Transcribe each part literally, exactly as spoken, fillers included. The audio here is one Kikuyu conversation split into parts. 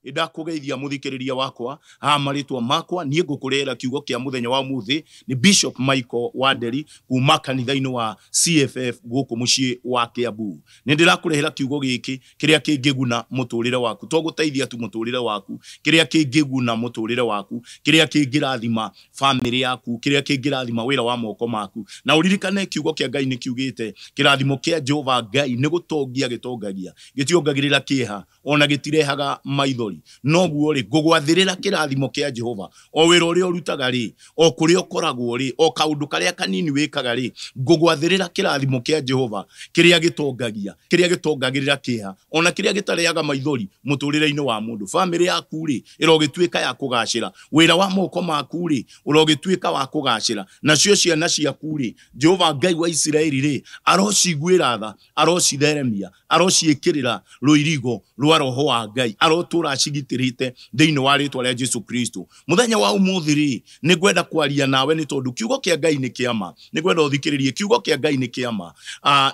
Ndakugeithia muthikiriria wakwa ha maritwa makwa nie ngukurera kiugo kia muthenya wa muthi ni Bishop Michael Wanderi kuma kanitha-ini wa C F F guku mucii wa Kiambu. Ni ndirakurehera kiugo giki kiria kingiguna muturire waku, to guteithia tu muturire waku, kiria kingiguna muturire waku, kiria kingirathima family yaku, kiria kingirathima wira wa moko maku. Na uririkane kiugo kia Ngai ni kiugite kirathimo kia Jehova Ngai ni gutongia gitongagia, gitiongagirira kieha ona gitirehaga maithori. Noguo ri ngugwathirira kirathimo kia Jehova o wira uria urutaga ri, o kuria ukoragwo ri, o kaundu karia kanini wikaga ri, ngugwathirira kirathimo kia Jehova kiria gitongagia, kiria gitongagirira kieha ona kiria gitarehaga maithori muturire-ini wa mundu. Family yaku ri irogituika ya kugacira, wira wa moko maku ri urogituika wa kugacira, nacio ciana ciaku ri Jehova Ngai wa Isiraeli ri arociguira tha, arocitheremia, arociikirira ruirigo rwa roho wa Ngai, arotura acigitirite thiini wa ritwa ria Jesu Kristo. Muthenya wa umuthi ri ni ngwenda kwaria nawe ni tondu kiugo kia Ngai ni kiama, ni ngwenda uthikiririe kiugo kia Ngai ni kiama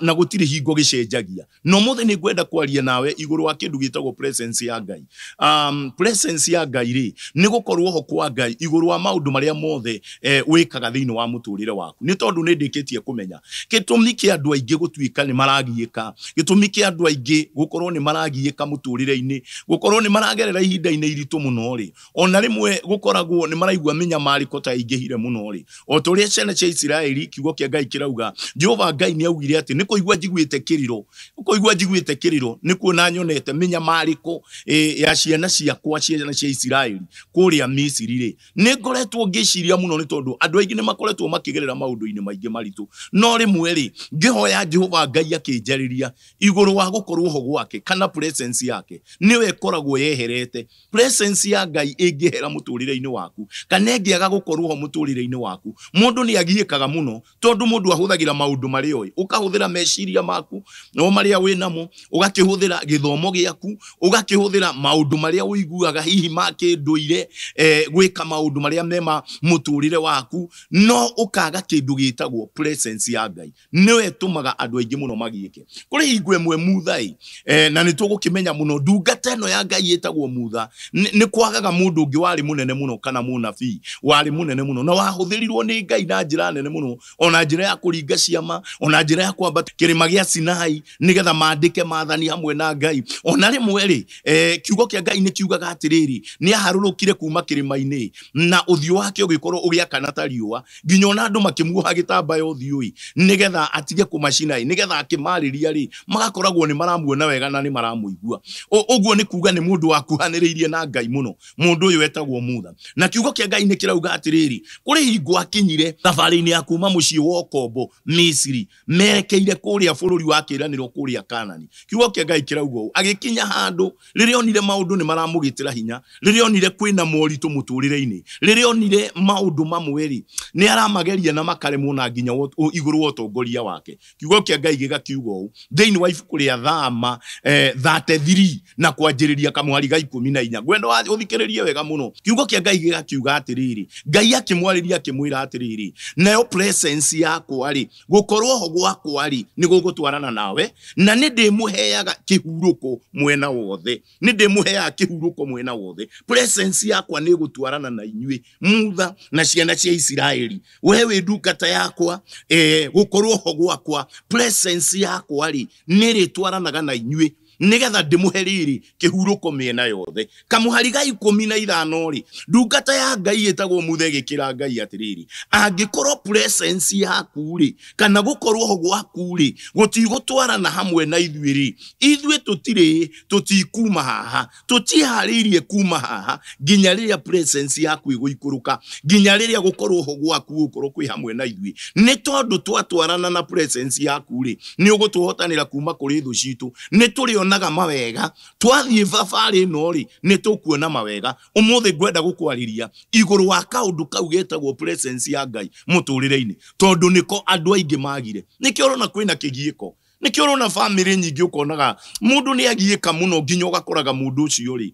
na gutiri hingo gicenjagia. No muthi ni ngwenda kwaria nawe iguru wa kindu gitagwo presence ya Ngai. Um, presence ya Ngai ri ni gukorwo ho kwa Ngai iguru wa maundu maria mothe eh, wikaga thiini wa muturire waku. Ni tondu ni ndikitie kumenya gitumi kia andu aingi gutuika ni maragiika, gitumi kia andu aingi gukorwo ni maragiika muturire-ini, gukorwo ni maragerera ihinda-ini iritu muno ri, ona rimwe gukoragwo ni maraigua minyamariko ta ingihire muno ri. O toria ciana cia Isiraeli kiugo kia Ngai kirauga Jehova Ngai ni augire ati ni kuigua njiguite kiriro, kuigua njiguite kiriro ni kuona nyonete minyamariko e, ya ciana ciakwa ciana cia Isiraeli kuria Misiri ri. Ni ngoretwo ngiciria muno ni tondu andu aingi ni makoretwo makigerera maundu-ini maingi maritu, no rimwe ri ngihoya Jehova Ngai akinjariria iguru wa gukorwo ho gwake kana presence yake niwe ikoragwo yeherete. Presence ya Ngai ingihera muturire-ini waku kana ingiaga gukorwo ho muturire-ini waku, mundu ni agiikaga muno tondu mundu ahuthagira maundu maria oi, ukahuthira meciria maku no maria winamo, ugakihuthira githomo giaku, ugakihuthira maundu maria uiguaga hihi ma kinduire eh, gwika maundu maria mema muturire waku, no ukaga kindu gitagwo presence ya Ngai niwe itumaga andu aingi muno magiike. Kuri hingo imwe muthai eh, na nitugukimenya muno ndungata ino ya Ngai itagwo mutha ni kwagaga mundu ungi wari munene muno kana munabii wari munene muno na wahuthirirwo ni Ngai na njira nene muno, ona njira ya kuringa ciama, ona njira ya kwambata kirima gia Sinai nigetha mandike maathani hamwe na Ngai. Ona rimwe ri eh, kiugo kia Ngai ni kiugaga atiriri ni aharurukire kuma kirima-ini na uthio wake ugikorwo ugiakana ta riua nginya ona andu makimuoha gitambaya uthiu nigetha atige kumacina, nigetha akimariria ri magakoragwo ni maramuona wega na ni maramuigua. Uguo ni kuga ni mundu wakuhaniriirie na Ngai muno, mundu uyu etagwo Mutha. Na kiugo kia Ngai ni kirauga atiriri kuri hingo akinyire thabari-ini ya kuma mucii wa ukombo Misiri merekeire kuria bururi wa kiraniro kuria Kanani. Kiugo kia Ngai kirauga uu agikinya handu riria onire maundu ni maramugitira hinya, riria onire kwina moritu muturire-ini, riria onire maundu mamwe ri ni aramageria na makaremwo na nginya iguru wa utongoria wake. Kiugo kia Ngai gigakiuga uu thiini wa ibuku ria Thama eh, thirty-three na kwanjiriria kamuhari ga ikumi na inya. Ngwenda uthikiririe wega muno. Kiugo kia Ngai gigakiuga atiriri Ngai akimwarĩria akimwira atiriri nayo presence yakwa ri gukorwo ho gwakwa ri ni gugutwarana nawe na ni ndimuheaga kihuruko mwena wothe, ni ndimuheaga kihuruko mwena wothe. Presence yakwa ni gutwarana na inyuĩ Mutha na ciana cia Isiraeli, we wi ndungata yakwa eh, gukorwo ho gwakwa presence yakwa ri ni ritwaranaga na inyuĩ nigetha ndimuhe riri kihuruko miena yothe. Kamuhari ga ikumi na ithano ri ndungata ya Ngai itagwo Mutha igikira Ngai atiriri angikorwo presence yaku ri kana gukorwo ho gwaku ri gutigutwarana hamwe na ithuĩ ri, ithuĩ tutiri tutikuma haha, tutiharĩirie kuma haha nginya riria presence yaku iguikuruka, nginya riria gukorwo ho gwaku gukorwo kwi hamwe na ithuĩ. Ni tondu twatwarana na presence yaku ri ni ugutuhotanira kuma kuri thu citu, ni turi naga mawega twathie thabarĩ ĩno rĩ nĩ tũkuona mawega. Ũmũthĩ ngwenda gũkwarĩria igũrũ wa kaũndũ kau getagwo presence ya Ngai mũtũrĩre-inĩ, tondũ nĩko andũ aingĩ magire. Nĩkĩo ũrona kwĩna kĩgiĩko, Nĩkĩo ũrona bamĩrĩ nyingĩ ũkonaga mũndũ nĩ agiĩka mũno nginya ũgakoraga mũndũ ũcio rĩ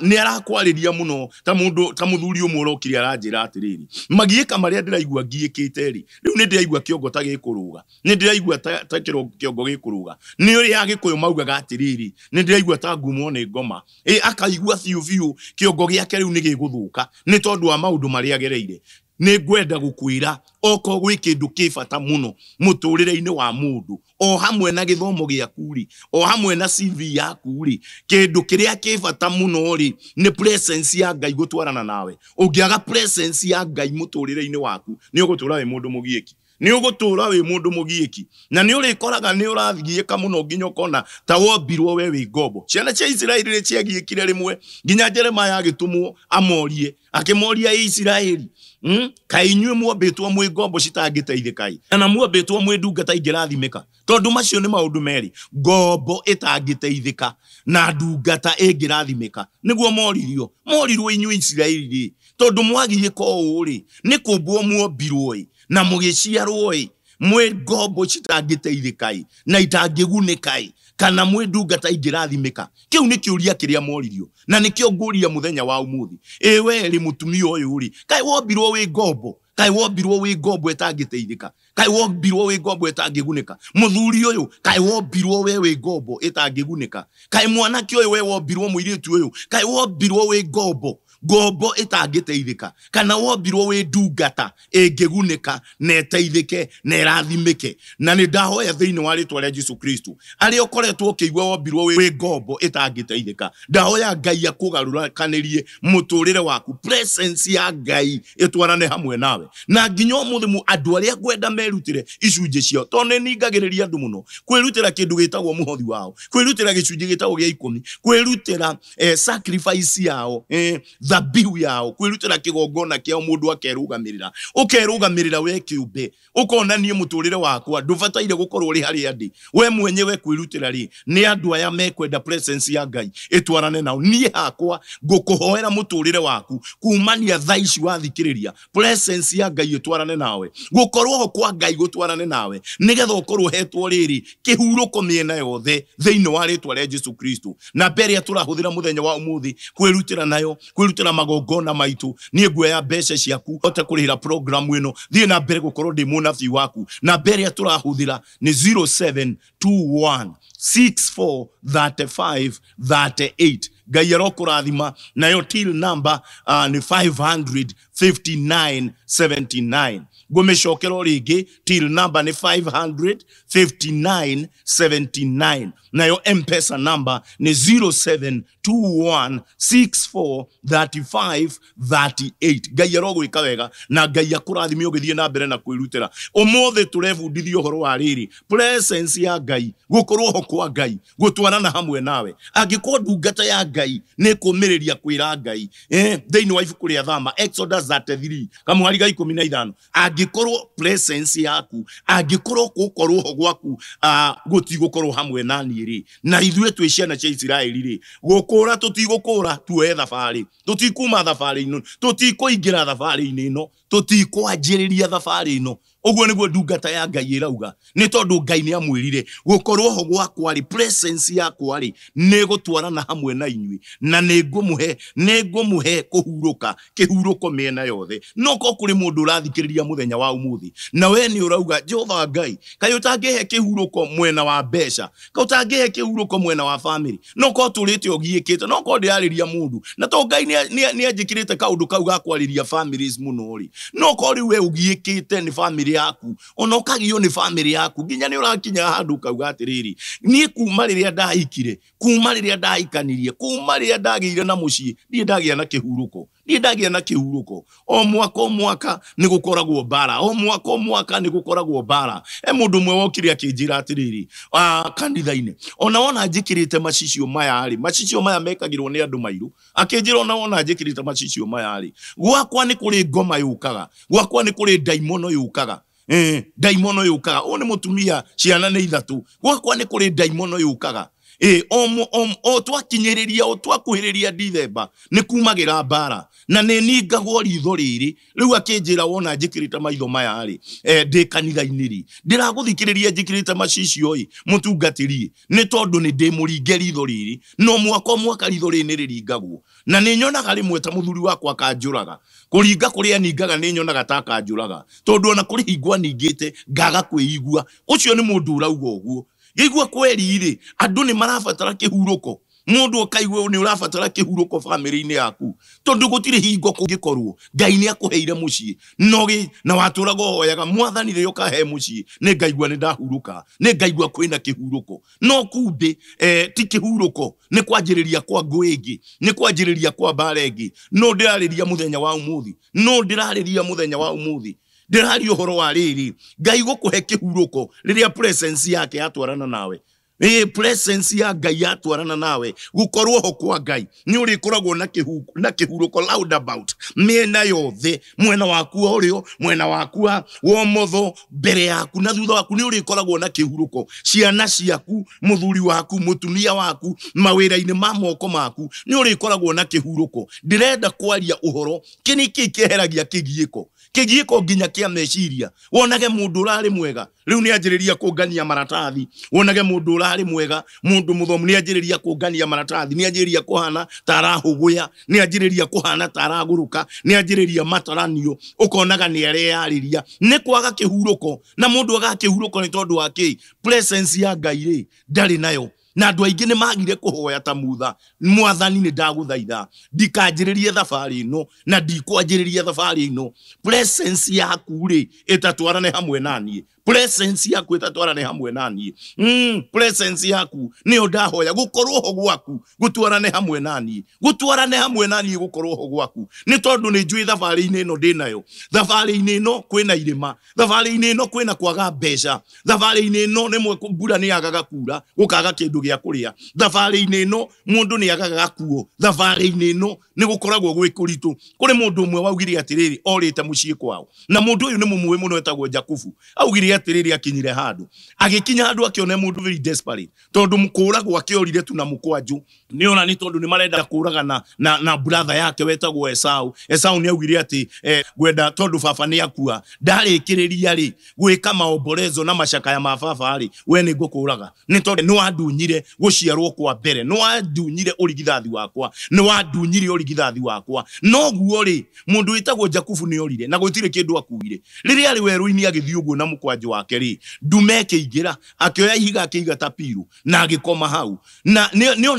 nĩ arakwarĩria mũno ta mũndũ ta mũthuri ũmwe ũrokire aranjĩra atĩrĩrĩ, magiĩka marĩa ndĩraigua ngiĩkĩte rĩ, rĩu nĩ ndĩraigua kĩongo ta gĩkũrũga, nĩ ndĩraigua ta, ta kĩongo gĩkũrũga. Nĩ ũrĩa Agĩkũyũ maugaga atĩrĩrĩ, nĩ ndĩraigua ta ngumwo nĩ ngoma. Ĩ akaigua biũ biũ kĩongo gĩake rĩu nĩ gĩgũthũka nĩ tondũ wa maũndũ marĩa agereire. Nĩ ngwenda gũkwĩra oko gwĩ kĩndũ kĩ bata mũno mũtũrĩre-inĩ wa mũndũ, o hamwe na gĩthomo gĩaku rĩ, o hamwe na C V yaku rĩ, kĩndũ kĩrĩa kĩ bata mũno rĩ nĩ presence ya Ngai gũtwarana nawe. Ũngĩaga presence ya Ngai mũtũrĩre-inĩ waku nĩ ũgũtũra wĩ mũndũ mũgiĩki, nĩ ũgũtũra wĩ mũndũ mũgiĩki, na nĩ ũrĩkoraga nĩ ũrathiĩka mũno nginya ũkona ta wombirwo we wĩ ngombo. Ciana cia Isiraeli nĩ ciagiĩkire rĩmwe nginya Jeremiah agĩtũmwo amorie, akĩmoria Isiraeli, mm? Kaĩ inyuĩ muombĩtwo mwĩ ngombo citangĩteithĩka ĩ, kana muombĩtwo mwĩ ndungata ingĩrathimĩka? Tondũ macio nĩ maũndũ merĩ, ngombo ĩtangĩteithĩka na ndungata ĩngĩrathimĩka. Nĩguo moririo, morirwo inyuĩ Isiraeli rĩ, tondũ mwagiĩka ũũ rĩ, nĩ kũmbwo muombirwo ĩ na mũgĩciarwo ĩ mwĩ ngombo citangĩteithĩka ĩ na itangĩgunĩka ĩ, kana mwĩ ndungata ingĩrathimĩka? Kĩu nĩ kĩũria kĩrĩa moririo, na nĩkĩo ngũria mũthenya wa ũmũthĩ. Ĩ we rĩ, mũtumia ũyũ rĩ, kaĩ wombirwo wĩ ngombo? Kaĩ wombirwo wĩ ngombo ĩtangĩteithĩka? Kaĩ wombirwo wĩ ngombo ĩtangĩgunĩka? Mũthuri ũyũ, kaĩ wombirwo we wĩ ngombo ĩtangĩgunĩka? Kaĩ mwanake ũyũ we wombirwo, mũirĩtu ũyũ, kaĩ wombirwo wĩ ngombo ngombo ĩtangĩteithĩka, kana wombirwo wĩ ndungata ĩngĩgunĩka na ĩteithĩke na ĩrathimĩke? Na nĩ ndahoya thĩinĩ wa rĩtwa rĩa Jesu Kristo, arĩa ũkoretwo ũkĩigua wombirwo wĩ ngombo ĩtangĩteithĩka, ndahoya Ngai akũgarũrũkanĩrie mũtũrĩre waku, presence ya Ngai ĩtwarane hamwe nawe. Na nginya ũmũthĩ andũ arĩa ngwenda merutĩre icunjĩ ciao, tondũ nĩ ningagĩrĩria andũ mũno kwĩrutĩra kĩndũ gĩtagwo mũhothi wao, kwĩrutĩra gĩcunjĩ gĩtagwo gĩa ikũmi, kwĩrutĩra eh, sacrifice yao, eh, thabihu yao, kwĩrutĩra kĩgongona kĩao, mũndũ akerũgamĩrĩra, ũkerũgamĩrĩra we kĩũmbe, ũkona niĩ mũtũrĩre wakwa ndũbataire gũkorwo ũrĩ harĩa ndĩ. We mwenyewe kwĩrutĩra rĩ, nĩ andũ aya mekwenda presence ya Ngai ĩtwarane nao. Niĩ hakwa ngũkũhoera mũtũrĩre waku kumania thaa ici wathikĩrĩria, presence ya Ngai ĩtwarane nawe, gũkorwo ho kwa Ngai gũtwarane nawe, nĩgetha ũkorwo ũhetwo rĩrĩ kĩhurũko mĩena yothe thĩinĩ wa rĩtwa rĩa Jesu Kristo. Na mbere ĩrĩa tũrahũthĩra mũthenya wa ũmũthĩ kwĩrutĩra nayo, kwĩrutĩra magongona maitũ, niĩ nguoya mbeca ciaku hote kũrĩhĩra program ĩno, thiĩ na mbere gũkorwo ndĩ mũnabii waku. Na mbere ĩrĩa tũrahũthĩra nĩ zero seven two one six four thirty five thirty eight. Ngai arokũrathima. Nayo till number uh, nĩ five hundred fifty nine seventy nine. Ngũmĩcokera o rĩngĩ, till number nĩ five hundred fifty nine seventy nine. Nayo M-Pesa number nĩ zero seven two one six four thirty five thirty eight. Ngai arogwĩka wega na Ngai akũrathime ũgĩthiĩ na mbere na kwĩrutĩra. Ũmũthĩ tũrebundithia ũhoro wa rĩrĩ, presence ya Ngai, gũkorwo ho kwa Ngai, gũtwarana hamwe nawe. Angĩkorwo ndungata ya Ngai nĩ kũmĩrĩria kwĩra Ngai, eh, thĩinĩ wa ibuku rĩa Thama, Exodus thirty three kamũhari ga ikũmi na ithano, angĩkorwo presence yaku, angĩkorwo gũkorwo ho gwaku, ah, gũtigũkorwo hamwe na niĩ rĩ, na ithuĩ twĩ ciana cia Isiraeli rĩ, gũkũra tũtigũkũra, tuoye thabarĩ, tũtikuma thabarĩ-inĩ, tũtikũingĩra thabarĩ-inĩ ĩno, tũtikwanjĩrĩria thabarĩ ĩno. Ũguo nĩguo ndungata ya Ngai ĩrauga, nĩ tondũ Ngai nĩ amwĩrire gũkorwo ho gwakwa rĩ, presence yakwa rĩ, nĩ gũtwarana hamwe na inyuĩ, na nĩ ngũmũhe, nĩ ngũmũhe kũhurũka, kĩhurũko mĩena yothe. No ko kũrĩ mũndũ ũrathikĩrĩria mũthenya wa ũmũthĩ, na we nĩ ũrauga, Jehova Ngai, kaĩ ũtangĩhe kĩhurũko mwena wa mbeca, kaĩ ũtangĩhe kĩhurũko mwena wa family, no ko tũrĩte ũgiĩkĩte, no ko ndĩrarĩria mũndũ, na to Ngai nĩ anjĩkĩrĩte kaũndũ kau ga kwarĩria families mũno rĩ, no ko rĩu we ũgiĩkĩte nĩ family yaku, ona ũkagio nĩ family yaku, nginya nĩ ũrakinya handũ ũkauga atĩrĩrĩ, niĩ kuma rĩrĩa ndahikire, kuma rĩrĩa ndahikanirie, kuma rĩrĩa ndagĩire na mũciĩ, niĩ ndagĩa na kĩhurũko, niĩ ndagĩa na kĩhurũko. O mwaka o mwaka nĩ gũkoragwo mbara, o mwaka o mwaka nĩ gũkoragwo mbara. E mũndũ ũmwe wokire akĩnjĩra atĩrĩrĩ, ah, kanitha-inĩ, ona wona njĩkĩrĩte macicio maya rĩ, macicio maya mekagĩrwo nĩ andũ mairũ, akĩnjĩra ona wona njĩkĩrĩte macicio maya rĩ, gwakwa nĩ kũrĩ ngoma yũkaga, gwakwa nĩ kũrĩ ndaimono yũkaga. Eh, ndaimono yũkaga. Ũyũ nĩ mũtumia, ciana nĩ ithatũ, gwakwa nĩ kũrĩ ndaimono yũkaga. Ĩ o o twakinyĩrĩria o twakuhĩrĩria Dithemba nĩ kumagĩra mbara na nĩ ningagwo ritho rĩrĩ. Rĩu akĩnjĩra wona njĩkĩrĩte maitho maya rĩ, eh, ndĩ kanitha-inĩ rĩ, ndĩragũthikĩrĩria njĩkĩrĩte macicio ĩ mũtungatĩri, nĩ tondũ nĩ ndĩmũringe ritho rĩrĩ, no mwaka mwaka ritho rĩrĩ nĩ rĩringagwo. Na nĩ nyonaga rĩmwe ta mũthuri wakwa akanjũraga, kũringa kũrĩa ningaga nĩ nyonaga ta akanjũraga, tondũ ona kũrĩ hingo aningĩte ngaga kwĩigua. Ũcio nĩ mũndũ ũrauga ũguo. Ngĩigua kweri rĩ, andũ nĩ marabatara kĩhurũko. Mũndũ ũkaigua nĩ ũrabatara kĩhurũko bamĩrĩ-inĩ yaku, tondũ gũtirĩ hingo kũngĩkorwo Ngai nĩ akũheire mũciĩ no na watũraga ũhoyaga mwathani rĩrĩa ũkahe mũciĩ nĩ ngaigua nĩ ndahurũka, nĩ ngaigua kwĩna kĩhurũko. No kumbe eh, ti kĩhurũko, nĩ kwanjĩrĩria kwa ngũ ĩngĩ, nĩ kwanjĩrĩria kwa mbara ĩngĩ. No ndĩrarĩria mũthenya wa ũmũthĩ, no ndĩrarĩria mũthenya wa ũmũthĩ, ndĩraria ũhoro wa rĩrĩ Ngai gũkũhe kĩhurũko rĩrĩa presence yake yatwarana nawe. Ĩ presence ya Ngai yatwarana nawe, gũkorwo ho kwa Ngai nĩ ũrĩkoragwo na kĩhu na kĩhurũko roundabout mĩena yothe, mwena waku wa ũrĩo, mwena waku wa ũmotho, mbere yaku na thutha waku nĩ ũrĩkoragwo na kĩhurũko. Ciana ciaku, mũthuri waku, mũtumia waku, mawĩra-inĩ ma moko maku nĩ ũrĩkoragwo na kĩhurũko. Ndĩrenda kwaria ũhoro kĩ nĩ kĩ kĩeheragia kĩgiĩko, kĩgiĩko nginya kĩa meciria. Wonage mũndũ ũrarĩ mwega rĩu nĩ anjĩrĩria kũngania maratathi, wonage mũndũ ũrarĩ mwega, mũndũ mũthomu nĩ anjĩrĩria kũngania maratathi, nĩ anjĩrĩria kũhana ta arahũgũya, nĩ anjĩrĩria kũhana ta aragũrũka, nĩ anjĩrĩria mataranio, ũkonaga nĩ areyarĩria. Nĩ kwaga kĩhurũko. Na mũndũ agaga kĩhurũko nĩ tondũ wa kĩ? Presence ya Ngai rĩ ndarĩ nayo. Na andũ aingĩ nĩ magire kũhoya ta Mutha, mwathani nĩ ndagũthaitha ndikanjĩrĩrie thabarĩ ĩno na ndikwanjĩrĩria thabarĩ ĩno, presence yaku rĩ ĩtatwarane hamwe na niĩ, presence yaku ĩtatwarane hamwe na niĩ. Mm, presence yaku nĩyo ndahoya, gũkorwo ho gwaku gũtwarane hamwe na niĩ, gũtwarane hamwe na niĩ, gũkorwo ho gwaku, nĩ tondũ nĩ njũĩ thabarĩ-inĩ ĩno ndĩnayo, thabarĩ-inĩ ĩno kwĩna irĩma, thabarĩ-inĩ ĩno kwĩna kwaga mbeca, thabarĩ-inĩ ĩno rĩmwe mbura nĩ yagaga kura gũkaga kĩndũ gĩa kũrĩa, thabarĩ-inĩ ĩno mũndũ nĩ agaga gakuo, thabarĩ-inĩ ĩno nĩ gũkoragwo gwĩ kũritũ. Kũrĩ mũndũ ũmwe waugire atĩrĩrĩ, orĩte mũciĩ kwao, na mũndũ ũyũ nĩ mũmũĩ mũno, etagwo Jakubu. Augire atĩrĩrĩ, akinyire handũ, agĩkinya handũ akĩona mũndũ very desperate, tondũ kũragwo akĩorire tu na mũkwanjũ, nĩ ona nĩ tondũ nĩ marenda kũraga na, na, na brother yake wetagwo Esau. Esau nĩ augire atĩ eh, ngwenda tondũ baba nĩ akua, ndarĩkĩrĩria rĩ gwĩka maomborezo na macakaya ma baba rĩ, we nĩ ngũkũraga, nĩ tondũ nĩ wandunyire gũciarwo kwa mbere, nĩ wandunyire ũrigithathi wakwa, nĩ wandunyire ũrigithathi wakwa. Noguo rĩ, mũndũ wĩtagwo Jakubu nĩ orire na gũtirĩ kĩndũ akuire. Rĩrĩa arĩ werũ-inĩ agĩthiĩ ũguo na mũkwanjũ wake rĩ, ndume ĩkĩingĩra, akĩoya ihiga akĩiga ta piru na agĩkoma hau, na nĩ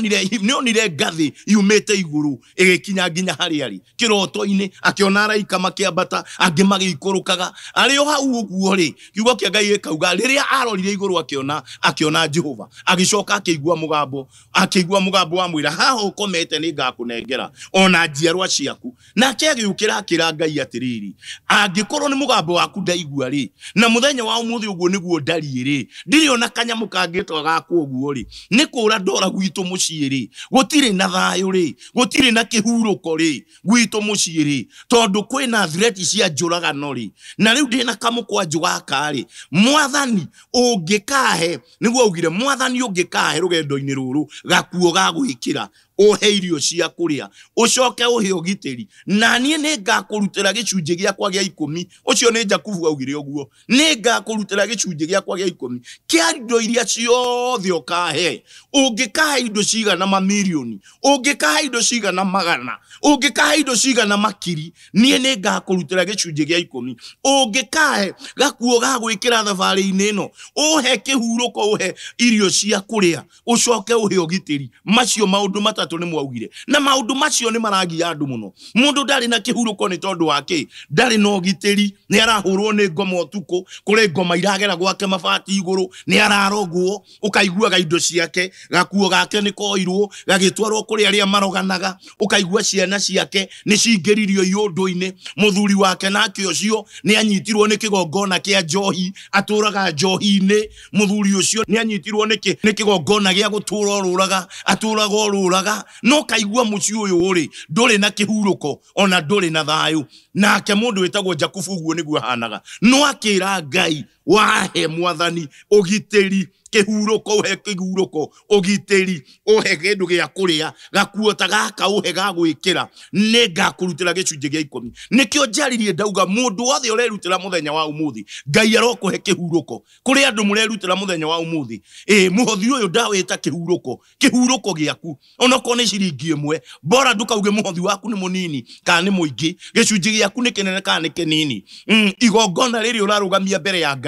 onire ngathĩ yumĩte igũrũ ĩgĩkinya nginya harĩa arĩ kĩroto-inĩ, akĩona araika makĩambata, angĩ magĩikũrũkaga. Arĩ o hau ũguo rĩ, kiugo kĩa Ngai gĩkauga rĩrĩa arorire igũrũ akĩona akĩona Jehova, agĩcoka akĩigua mũgambo, akĩigua mũgambo wa mwĩra, haha ũkomete nĩ ngakũnengera ona njiarwa ciaku. Nake agĩũkĩra akĩra Ngai atĩrĩrĩ, angĩkorwo nĩ mũgambo waku ndaigua rĩ, na mũthenya wa ũmũthĩ ũguo nĩguo ndariĩ rĩ, ndirĩ ona kanyamũ kangĩtwa gakwa ũguo rĩ, nĩ kũra ndora gwitũ mũciĩ rĩ, gũtirĩ na thayũ rĩ, gũtirĩ na kĩhurũko rĩ gwitũ mũciĩ rĩ, tondũ kwĩna threat cia njũragano rĩ, na rĩu ndĩna kamũkwanjũ gaka rĩ, mwathani ũngĩkahe, nĩguo augire, mwathani ũngĩkahe rũgendo-inĩ rũrũ gakuo ga gwĩkĩra, ũhe irio cia kũrĩa, ũcoke ũhe ũgitĩri, na niĩ nĩ ngakũrutĩra gĩcunjĩ gĩakwa gĩa ikũmi. Ũcio nĩ Jakubu augire ũguo, nĩ ngakũrutĩra gĩcunjĩ gĩakwa gĩa ikũmi kĩa indo iria ciothe ũkahe. Ũngĩkahe indo cigana mamirioni, ũngĩkahe indo cigana magana, ũngĩkahe indo cigana makiri, niĩ nĩ ngakũrutĩra gĩcunjĩ gĩa ikũmi. Ũngĩkahe gakuo ga gwĩkĩra thabarĩ-inĩ ĩno, ũhe kĩhurũko, ũhe irio cia kũrĩa, ũcoke ũhe ũgitĩri. Macio maũndũ matatũ nĩ mwaugire, na maũndũ macio nĩ maragia andũ mũno. Mũndũ ndarĩ na kĩhurũko nĩ tondũ wa kĩ? Ndarĩ na ũgitĩri, nĩ arahũrwo nĩ ngoma ũtukũ, kũrĩ ngoma iragera gwake mabati igũrũ, nĩ ararogwo, ũkaiguaga indo ciake, gakuo gake nĩ koirwo, gagĩtwarwo kũrĩ arĩa maroganaga, ũkaigua ciana ciake nĩ cingĩririo iũndũ-inĩ, mũthuri wake nake ũcio nĩ anyitirwo nĩ kĩgongona kĩa njohi, atũraga njohi-inĩ, mũthuri ũcio nĩ anyitirwo nĩ kĩgongona gĩa gũtũra orũraga, atũraga orũraga, no kaigua mũciĩ ũyũ rĩ ndũrĩ na kĩhurũko ona ndũrĩ na thayũ. Nake mũndũ wĩtagwo Jakubu ũguo nĩguo ahanaga, no akĩra Ngai, wahe mwathani ũgitĩri, Kĩhurũko, ũhe kĩhurũko, ũgitĩri, ũhe kĩndũ gĩa kũrĩa, gakuo ta gaka ũhe ga gwĩkĩra, nĩ ngakũrutĩra gĩcunjĩ gĩa ikũmi. Nĩkĩo njaririe ndauga mũndũ wothe ũrerutĩra mũthenya wa ũmũthĩ, Ngai arokũhe kĩhurũko. Kũrĩ andũ mũrerutĩra mũthenya wa ũmũthĩ, ĩ mũhothi ũyũ ndawĩta kĩhurũko, kĩhurũko gĩaku onokorwo nĩ ciringi ĩmwe, bora ndũkauge mũhothi waku nĩ mũnini kana nĩ mũingĩ, gĩcunjĩ gĩaku nĩ kĩnene kana nĩ kĩnini. Mm, igongona rĩrĩ ũrarũgamia mbere ya Ngai.